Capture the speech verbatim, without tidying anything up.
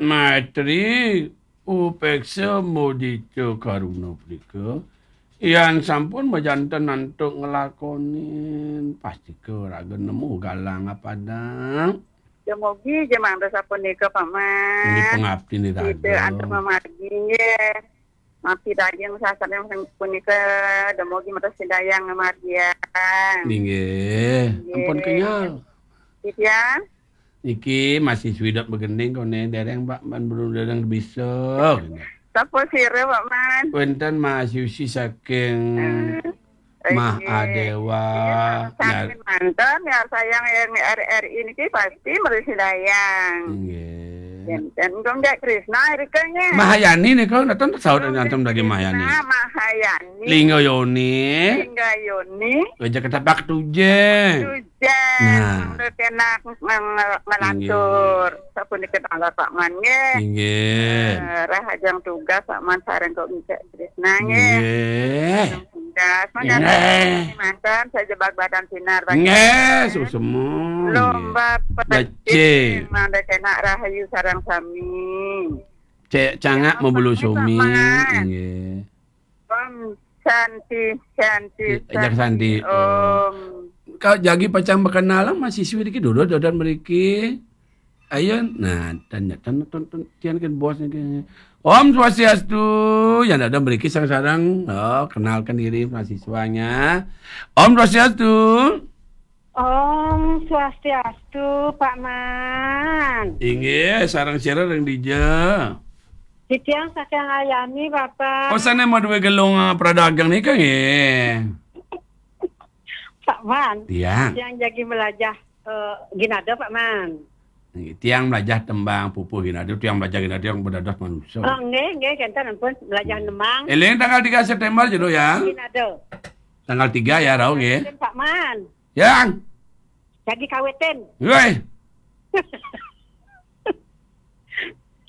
Maitri, upeksa mudita karuna punika, yan sampun majanten antuk nglakonin, pastika raga nemu galang apadang. Dumogi ja mangda sapunika, Paman. Inggih pangaptin iraga. Sida antuk mamargi, nggih. Mapi daging sasampun punika, dumogi mrsidayang ngamargiang. Inggih. Inggih. Ampun kenyel. Titiang? Niki masih swidot begending kone dereng, Pak, man belum dereng bisa. Sapa sira, Pak Man? Wenten mahasiswi saking Eh, Mahadewa. Inggih. Sami manten, ya, sayang yang R R I niki pasti mrsidayang. Inggih. Enten Gong Jek Krisna irika nggih. Mahayani nika, nonton saut Gong Jek nonton lagi Krisna, Mahayani. Mahayani. Lingga Yoni. Lingga Yoni. Raja Ketaprak Tujeng. Tujeng. Nah. Mangda kenak ngang-, ngelantur. Inggih. Sapunika tanggal Pak Man nggih. Inggih. Eh, rahajeng tugas Pak Man sareng Gong Jek Krisna nggih. Nggih. Tugas. Nggih. Manten saja bag badan sinar bagi. Nggih, susemu. Lomba nggih. Pecik. Becik. Mangda kenak rahayu sareng sami. Cek cangak mabulu sumi. Paman. Nggih. Om Santi, Santi, Ajak Santi. Santi. Om. Kau jagi pacang berkenalan mahasiswi niki duduk dodon mriki. Ayo, nah, tanya, tanya, tanya, tanya, tiang kan bos ni kan. Om Swastiastu, yang ada mriki sareng-sareng. Oh, kenalkan diri mahasiswanya. Om Swastiastu. Om Swastiastu, Pak Man. Inggih, sareng sira ring dija? Titiang saking Ayani, Bapak. Oh, sane madue gelung, eh, pradagang nika nggih? Pak Man. Tiang. Tiang jagi melajah, eh, ginada, Pak Man. Nggih, tiang melajah tembang pupuh ginada, tiang melajah ginada, tiang bedados manusa. Oh, nggih, nggih, kenten ampun melajah nembang. Eling tanggal tiga September jero ya. Ginada. Tanggal tiga ya, rauh nggih. Pak Man. Yang. Jagi kawitin. Weh.